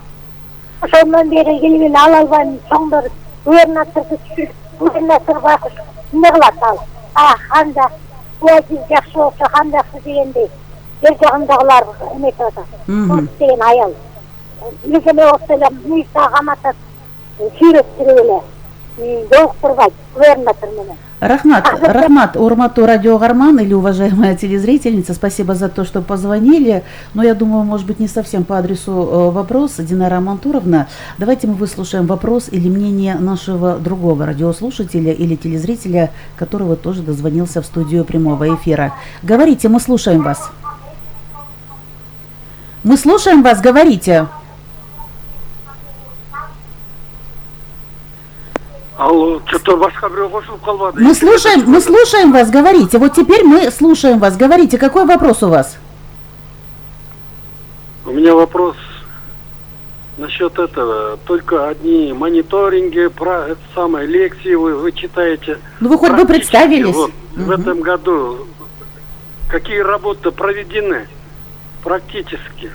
Ошондон бери келип ала албайм, чоңдор губернаторду түшүрүп, губернатор байкуш эмне кылат ал? А, кандай уазиз жакшы болсо кандайсы дегендей жер жагындагылар эметип атат. Ошо деген аял. Меземе болсо эле мыйса каматат, сүйрөттүрүп эле жолуктурбайт губернатор менен. Рахмат, Рахмат, урматтуу радиогарман или уважаемая телезрительница, спасибо за то, что позвонили. Но я думаю, может быть, не совсем по адресу вопрос. Динара Мантуровна, давайте мы выслушаем вопрос или мнение нашего другого радиослушателя или телезрителя, которого тоже дозвонился в студию прямого эфира. Говорите, мы слушаем вас. Мы слушаем вас, говорите. Алло, что-то башка бирөө кошулуп калбады. Мы слушаем, мы слушаем вас, говорите. Вот теперь мы слушаем вас, говорите. Какой вопрос у вас? У меня вопрос насчет этого. Только одни мониторинги, про это самое, лекции вы, вы читаете. Ну вы хоть бы представились. Вот, угу. В этом году какие работы проведены практически?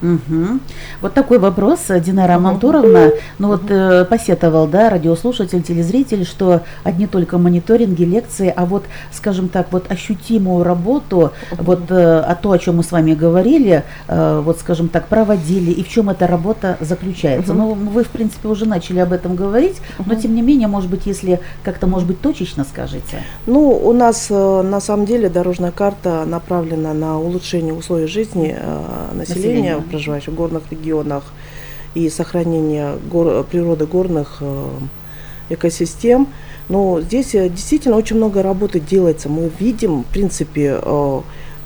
Угу. Вот такой вопрос, Динара Мантуровна. Ну вот э, посетовал, да, радиослушатель, телезритель, что одни только мониторинги, лекции, а вот, скажем так, вот ощутимую работу, вот э, а то, о чем мы с вами говорили, э, вот, скажем так, проводили, и в чем эта работа заключается. Ну, вы, в принципе, уже начали об этом говорить, но, тем не менее, может быть, если как-то, может быть, точечно скажете. Ну, у нас, на самом деле, дорожная карта направлена на улучшение условий жизни э, населения, населения, проживающих в горных регионах, и сохранение гор, природы горных э, экосистем. Но здесь действительно очень много работы делается. Мы видим, в принципе,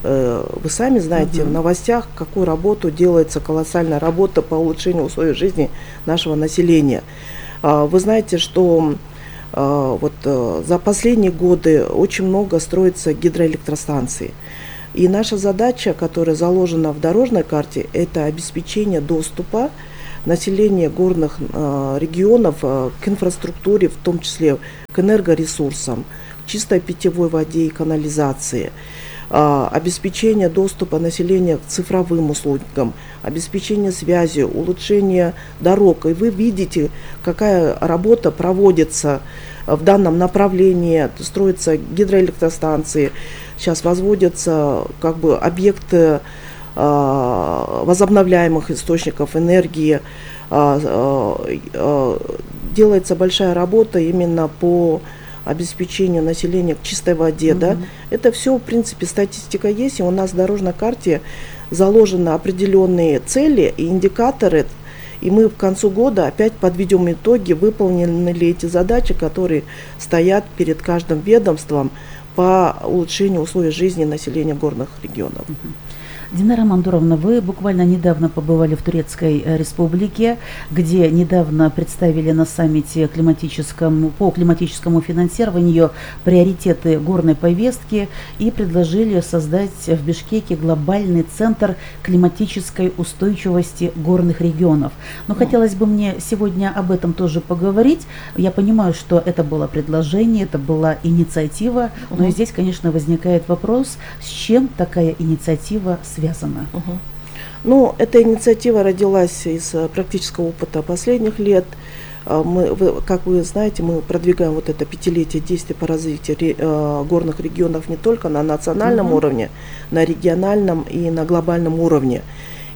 вы сами знаете, uh-huh. в новостях, какую работу делается, колоссальная работа по улучшению условий жизни нашего населения. Вы знаете, что вот за последние годы очень много строится гидроэлектростанций. И наша задача, которая заложена в дорожной карте, это обеспечение доступа населения горных э, регионов э, к инфраструктуре, в том числе к энергоресурсам, к чистой питьевой воде и канализации, э, обеспечение доступа населения к цифровым услугам, обеспечение связи, улучшение дорог. И вы видите, какая работа проводится в данном направлении. Строятся гидроэлектростанции, сейчас возводятся как бы объекты возобновляемых источников энергии. Делается большая работа именно по обеспечению населения к чистой воде. Mm-hmm. Да? Это все, в принципе, статистика есть, и у нас в дорожной карте заложены определенные цели и индикаторы, и мы к концу года опять подведем итоги, выполнены ли эти задачи, которые стоят перед каждым ведомством по улучшению условий жизни населения горных регионов. Mm-hmm. Динара Мандуровна, вы буквально недавно побывали в Турецкой Республике, где недавно представили на саммите климатическому, по климатическому финансированию приоритеты горной повестки и предложили создать в Бишкеке глобальный центр климатической устойчивости горных регионов. Но хотелось бы мне сегодня об этом тоже поговорить. Я понимаю, что это было предложение, это была инициатива, но и здесь, конечно, возникает вопрос, с чем такая инициатива связана. Угу. Ну, эта инициатива родилась из практического опыта последних лет. Мы, как вы знаете, мы продвигаем вот это пятилетие действий по развитию горных регионов не только на национальном угу. уровне, на региональном и на глобальном уровне.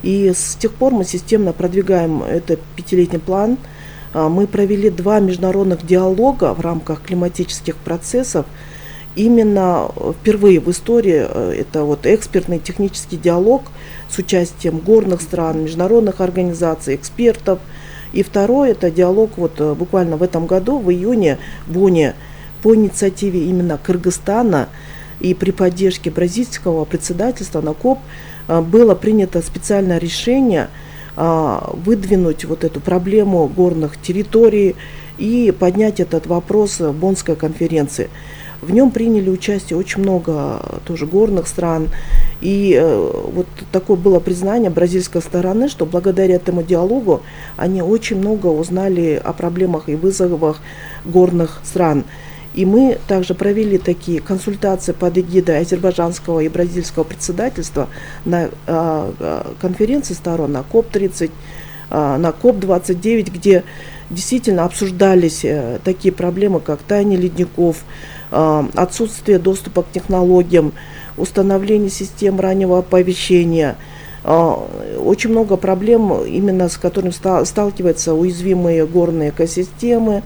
И с тех пор мы системно продвигаем этот пятилетний план. Мы провели два международных диалога в рамках климатических процессов. Именно впервые в истории это вот экспертный технический диалог с участием горных стран, международных организаций, экспертов. И второй это диалог вот буквально в этом году, в июне, в Бонне, по инициативе именно Кыргызстана и при поддержке бразильского председательства на КОП было принято специальное решение выдвинуть вот эту проблему горных территорий и поднять этот вопрос в Боннской конференции. В нем приняли участие очень много тоже горных стран. И э, вот такое было признание бразильской стороны, что благодаря этому диалогу они очень много узнали о проблемах и вызовах горных стран. И мы также провели такие консультации под эгидой азербайджанского и бразильского председательства на э, конференции сторон, на КОП тридцать, э, на КОП двадцать девять, где действительно обсуждались э, такие проблемы, как таяние ледников, отсутствие доступа к технологиям, установление систем раннего оповещения. Очень много проблем, именно с которыми сталкиваются уязвимые горные экосистемы.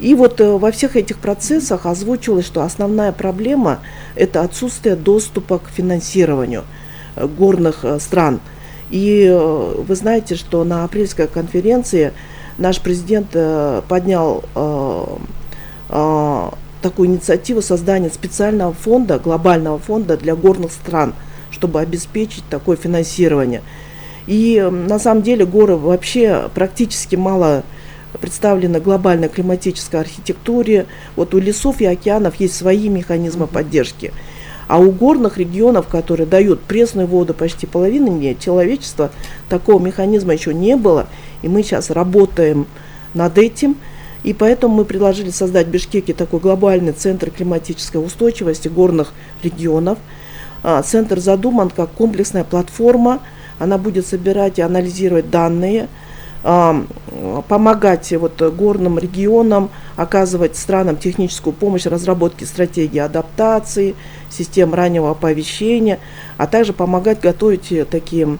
И вот во всех этих процессах озвучилось, что основная проблема – это отсутствие доступа к финансированию горных стран. И вы знаете, что на апрельской конференции наш президент поднял такую инициативу создания специального фонда, глобального фонда для горных стран, чтобы обеспечить такое финансирование. И на самом деле горы вообще практически мало представлены в глобальной климатической архитектуре. Вот у лесов и океанов есть свои механизмы поддержки. А у горных регионов, которые дают пресную воду почти половине человечества, такого механизма еще не было. И мы сейчас работаем над этим. И поэтому мы предложили создать в Бишкеке такой глобальный центр климатической устойчивости горных регионов. Центр задуман как комплексная платформа. Она будет собирать и анализировать данные, помогать вот горным регионам, оказывать странам техническую помощь в разработке стратегии адаптации, систем раннего оповещения, а также помогать готовить такие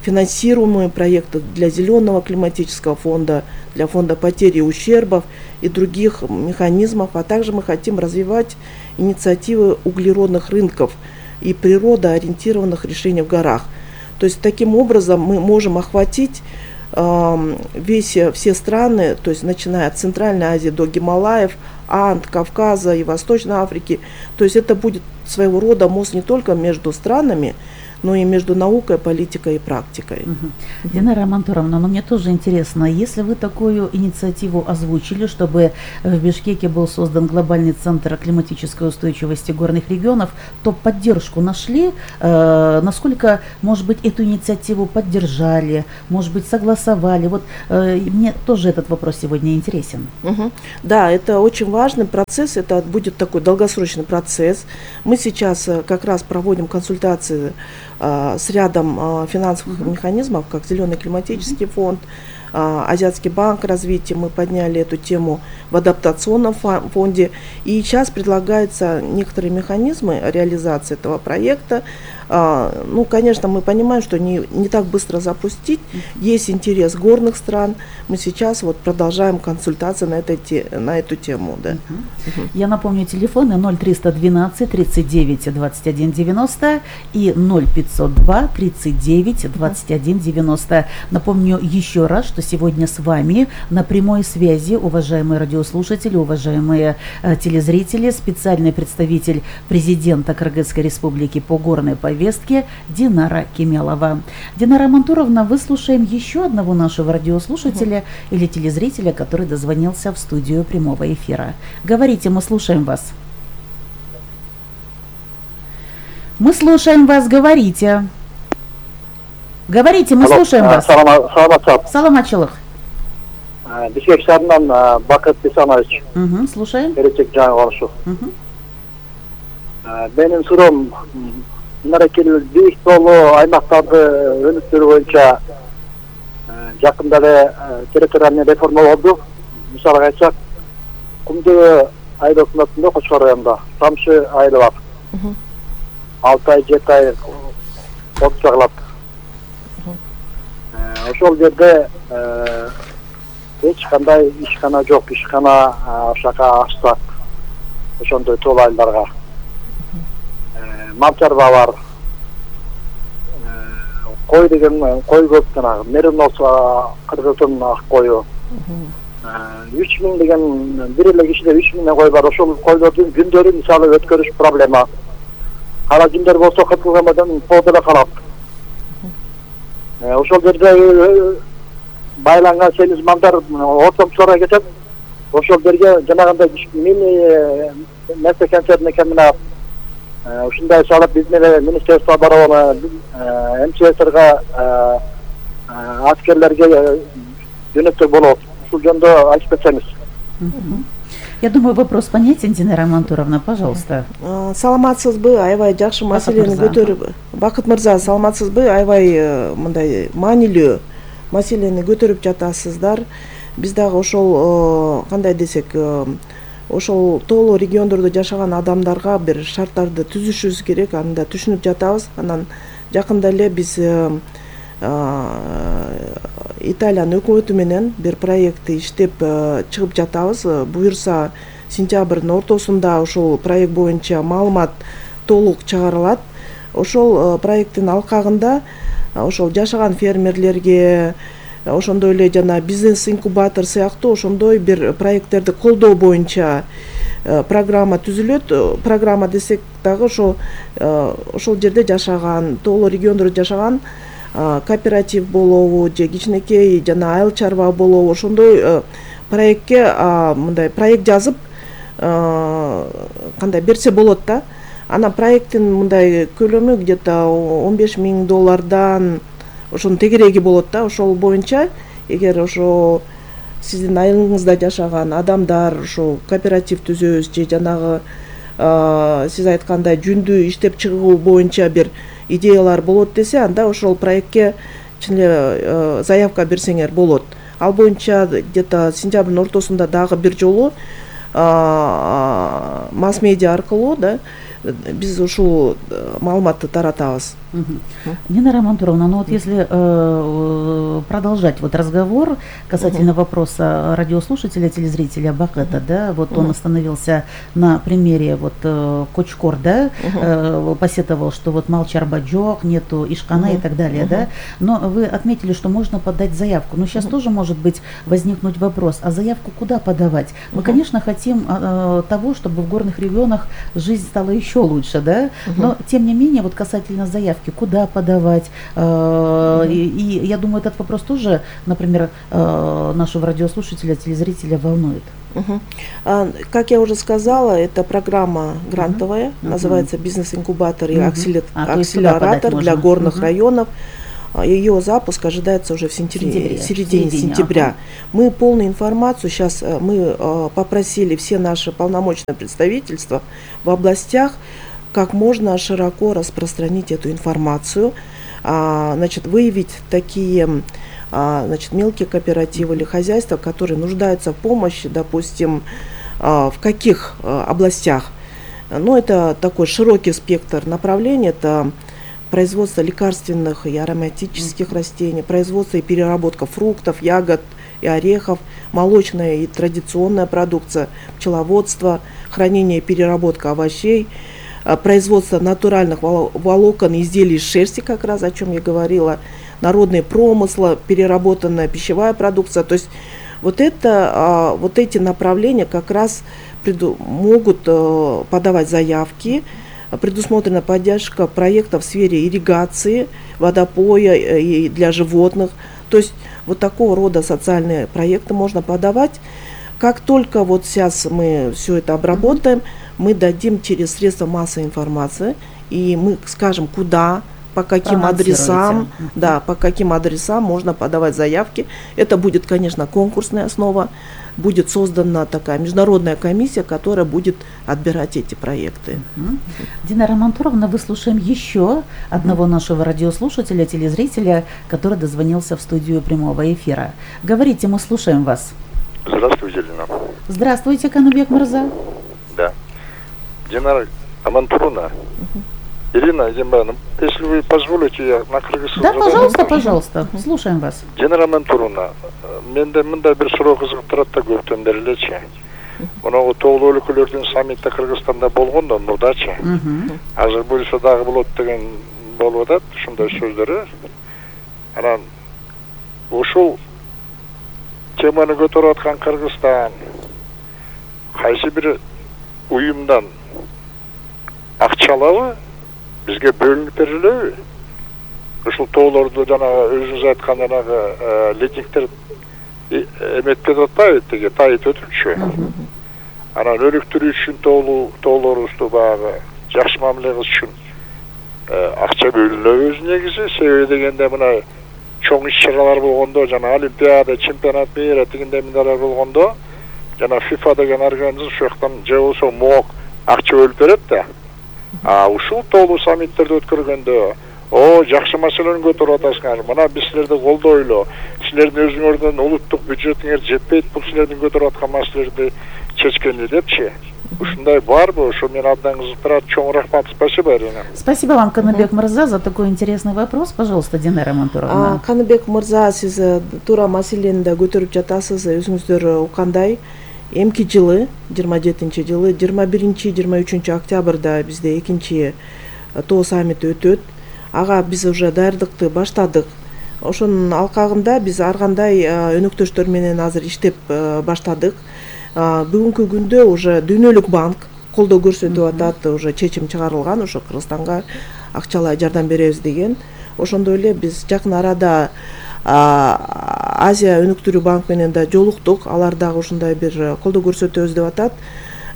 финансируемые проекты для зеленого климатического фонда, для фонда потери и ущербов и других механизмов. А также мы хотим развивать инициативы углеродных рынков и природоориентированных решений в горах. То есть таким образом мы можем охватить весь, все страны, то есть начиная от Центральной Азии до Гималаев, Анд, Кавказа и Восточной Африки. То есть это будет своего рода мост не только между странами, но и между наукой, политикой и практикой. Угу. Динара Мантуровна, но мне тоже интересно, если вы такую инициативу озвучили, чтобы в Бишкеке был создан глобальный центр климатической устойчивости горных регионов, то поддержку нашли? Э, насколько, может быть, эту инициативу поддержали, может быть, согласовали? Вот э, мне тоже этот вопрос сегодня интересен. Угу. Да, это очень важный процесс, это будет такой долгосрочный процесс. Мы сейчас как раз проводим консультации с рядом финансовых uh-huh. механизмов, как Зеленый климатический uh-huh. фонд, Азиатский банк развития. Мы подняли эту тему в адаптационном фонде. И сейчас предлагаются некоторые механизмы реализации этого проекта. Ну, конечно, мы понимаем, что не, не так быстро запустить. Есть интерес горных стран. Мы сейчас вот продолжаем консультации на, этой, на эту тему. Да. Uh-huh. Uh-huh. Я напомню, телефоны ноль триста двенадцать тридцать девять двадцать один девяносто и ноль пятьсот два тридцать девять двадцать один девяносто. Напомню еще раз, что сегодня с вами на прямой связи, уважаемые радиослушатели, уважаемые э, телезрители, специальный представитель президента Кыргызской республики по горной повестке Динара Кемелова. Динара Мантуровна, выслушаем еще одного нашего радиослушателя uh-huh. или телезрителя, который дозвонился в студию прямого эфира. Говорите, мы слушаем вас. Мы слушаем вас, говорите. Говорите, мы Алло, слушаем а, вас. Саламат. Саламатчылык. Бишкек шаарынан Бакыт Бисанович. Угу, слушаем. Беречек жаңы болушу. Угу. Менин суроом мынакей бийик тоолуу аймактарды өнүктүрүү боюнча жакында эле территориальный реформа болду. Мисалга айтсак, Кумдуу айыл өкмөтүндө Кочкор районунда Тамшы айылы бар. алты ай жети ай от жагылат. Ошол жерде эч кандай ишкана жок, ишкана ошака ачсак ошондой тоол айылдарга. Мал чарба бар. Кой деген кой көп, жанагы меринос кыргыздын ак кою. үч миң деген бир эле кишиде үч миң кой бар. Ошол койлордун күндөрү мисалы өткөрүш проблема. Кара күндөр болсо кытылгамадан тоодо эле калат. Ошол жерде байланган семиз малдар ортомчуларга кетет. Ошол жерге жанагындай мини месекенчердин экенин ушундай салып биздин эле министерство барабы МЧСРга аскерлерге жөнөтсөк болот. Ушул жөнүндө айтып кетсеңиз. Я думаю, вопрос понятен, Динара Мантуровна, пожалуйста. Саламатсызбы, аябай жакшы маселени көтөрүп. Бакыт мырза, саламатсызбы, аябай мындай маанилүү маселени көтөрүп жатасыздар. Биз дагы ошол кандай десек, ошол тоолуу региондордо жашаган адамдарга бир шарттарды түзүшүбүз керек, аны да түшүнүп жатабыз. Анан жакында эле биз Италиянын өкмөтү менен бир проектти иштеп чыгып жатабыз. Буюрса сентябрдын ортосунда ошол проект боюнча маалымат толук чыгарылат. Ошол проекттин алкагында ошол жашаган фермерлерге, ошондой эле жана бизнес инкубатор сыяктуу ошондой бир проекттерди колдоо боюнча программа түзүлөт. Программа десек дагы ошо ошол жерде жашаган, тоолуу региондордо жашаган кооператив болобу же кичинекей жана айыл чарба болобу ошондой проектке мындай проект жазып кандай берсе болот да. Анан проекттин мындай көлөмү где-то он беш миң доллардан ошонун тегереги болот да. Ошол боюнча эгер ошо сиздин айылыңызда жашаган адамдар ошо кооператив түзөбүз же жанагы сиз айткандай жүндү иштеп чыгуу боюнча бир идеялар болот десе, анда ошол проектке чын эле заявка берсеңер болот. Ал боюнча где-то сентябрдын ортосунда дагы бир жолу масс медиа аркылуу да биз ушул маалыматты таратабыз. Нина Романтуровна, ну вот если э, продолжать вот разговор касательно uh-huh. вопроса радиослушателя, телезрителя Бакета, да, вот uh-huh. он остановился на примере вот э, Кочкор, да, uh-huh. э, посетовал, что вот Малчар Баджок, нету Ишкана uh-huh. и так далее, uh-huh. да, но вы отметили, что можно подать заявку, но сейчас uh-huh. тоже может быть возникнуть вопрос, а заявку куда подавать? Мы, uh-huh. конечно, хотим э, того, чтобы в горных регионах жизнь стала еще лучше, да, uh-huh. но тем не менее, вот касательно заявки, куда подавать. Mm-hmm. И, и я думаю, этот вопрос тоже, например, нашего радиослушателя, телезрителя волнует. Uh-huh. А, как я уже сказала, это программа грантовая, uh-huh. называется «Бизнес-инкубатор» и uh-huh. акселератор а, для горных uh-huh. районов. Ее запуск ожидается уже в сентябре, в середине сентября. Ага. Мы полную информацию, сейчас мы попросили все наши полномочные представительства в областях как можно широко распространить эту информацию, а, значит, выявить такие а, значит, мелкие кооперативы или хозяйства, которые нуждаются в помощи, допустим, а, в каких а, областях. Ну, это такой широкий спектр направлений, это производство лекарственных и ароматических растений, производство и переработка фруктов, ягод и орехов, молочная и традиционная продукция, пчеловодство, хранение и переработка овощей, производство натуральных волокон и изделий из шерсти, как раз о чем я говорила, народные промыслы, переработанная пищевая продукция. То есть вот, это, вот эти направления как раз преду, могут подавать заявки. Предусмотрена поддержка проектов в сфере ирригации, водопоя и для животных. То есть вот такого рода социальные проекты можно подавать. Как только вот сейчас мы все это обработаем, мы дадим через средства массовой информации, и мы скажем, куда, по каким адресам, да, по каким адресам можно подавать заявки. Это будет, конечно, конкурсная основа, будет создана такая международная комиссия, которая будет отбирать эти проекты. Uh-huh. Дина Романтуровна, выслушаем еще одного uh-huh. нашего радиослушателя, телезрителя, который дозвонился в студию прямого эфира. Говорите, мы слушаем вас. Здравствуйте, Дина. Здравствуйте, Канубек Мырза. Да. Дина Романтуровна. Uh-huh. Ирина Дембановна, если вы позволите, я на кыргызском. Да, пожалуйста, пожалуйста, слушаем вас. Дина Романтуровна, менде мындай бир суроо кызыгып турат да көптөн бери элечи. Моногу тоолуу өлкөлөрдүн саммити Кыргызстанда болгондо мурдачы. Азыр буюрса дагы болот деген болуп атат, ушундай сөздөрү. Анан ушул теманы көтөрүп аткан Кыргызстан кайсы бир уюмдан акча алабы? Бизге бөлүнүп берилеби? Ушул тоолорду жанагы өзүңүз айткан жанагы летниктер эметпеп атпайбы, тиги тайып өтүпчү. Анан өнүктүрүү үчүн тоолуу тоолорубузду баягы жакшы мамиле кылыш үчүн акча бөлүнөбү өзү негизи. Себеби дегенде мына чоң иш-чаралар болгондо, жана олимпиада, чемпионат мира дегендей мындайлар болгондо, жана FIFA деген организм ушул жактан же болсо МОК акча бөлүп берет да. А ушул тоолуу саммиттерди өткөргөндө, о, жакшы маселени көтөрүп атасыңар. Мына биз силерди колдойлу. Силердин өзүңөрдүн улуттук бюджетиңер жетпейт, бул силердин көтөрүп аткан маселелерди чечкенди депчи. Ушундай барбы? Ошо мен абдан кызыктырат. Чоң рахмат. Спасибо, Ирина. Спасибо вам, Каныбек Мырза, за такой интересный вопрос. Пожалуйста, Динара Романтуровна. Каныбек Мырза, сиз туура маселени да көтөрүп жатасыз. Өзүңүздөр уккандай, эмки жылы, жыйырма жетинчи жылы, жыйырма биринчи жыйырма үчүнчү октябрда бизде экинчи тоо саммити өтөт. Ага биз уже даярдыкты баштадык. Ошонун алкагында биз ар кандай өнөктөштөр менен азыр иштеп баштадык. Бүгүнкү күндө уже Дүйнөлүк банк колдоо көрсөтүп атат, уже чечим чыгарылган, ошо Кыргызстанга акчалай жардам беребиз деген. Ошондой эле биз жакын арада Азия өнүктүрүү банк менен да жолуктук. Алар дагы ушундай бир колдоо көрсөтөбүз деп атат.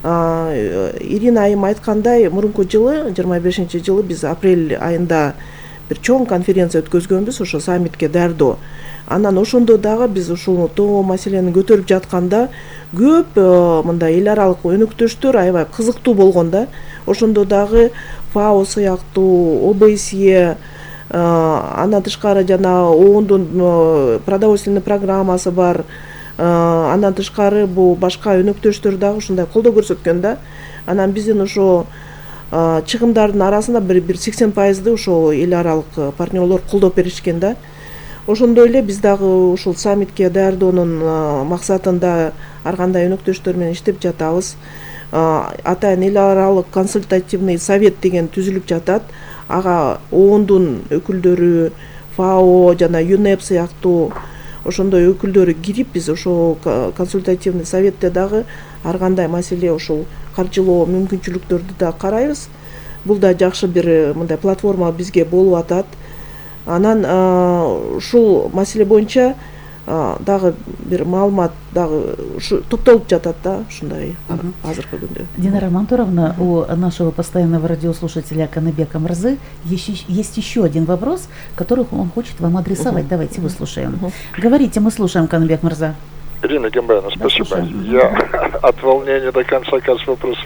Ирина айым айткандай, мурунку жылы, жыйырма бешинчи жылы биз апрель айында бир чоң конференция өткөзгөнбүз, ошо саммитке даярдоо. Анан ошондо дагы биз ушул тоо маселени көтөрүп жатканда көп мындай эл аралык өнөктөштөр аябай кызыктуу болгон да. Ошондо дагы ФАО сыяктуу, О Б С Е, андан тышкары жана оондун продовольственный программасы бар. Андан тышкары бул башка өнөктөштөр дагы ушундай колдоо көрсөткөн да. Анан биздин ошо чыгымдардын арасында бир бир сексен пайызды ошол эл аралык партнерлор колдоп беришкен да. Ошондой эле биз дагы ушул саммитке даярдоонун максатында ар кандай өнөктөштөр менен иштеп жатабыз. Атайын эл аралык консультативный совет деген түзүлүп жатат. Ага оондун өкүлдөрү, ФАО жана ЮНЕП сыяктуу ошондой өкүлдөрү кирип, биз ошол консультативный советте дагы ар кандай маселе ушул каржылоо мүмкүнчүлүктөрдү да карайбыз. Бул да жакшы бир мындай платформа бизге болуп атат. Анан ушул маселе боюнча дагы бир маалымат дагы ушу топтолуп жатат да, ушундай азыркы күндө. Динара Мантуровна, у нашего постоянного радиослушателя Каныбека Мырзы есть еще один вопрос, который он хочет вам адресовать. Давайте выслушаем. Говорите, мы слушаем, Каныбек Мырза. Ирина Гембаевна, спасибо. Я от волнения до конца, кажется, вопрос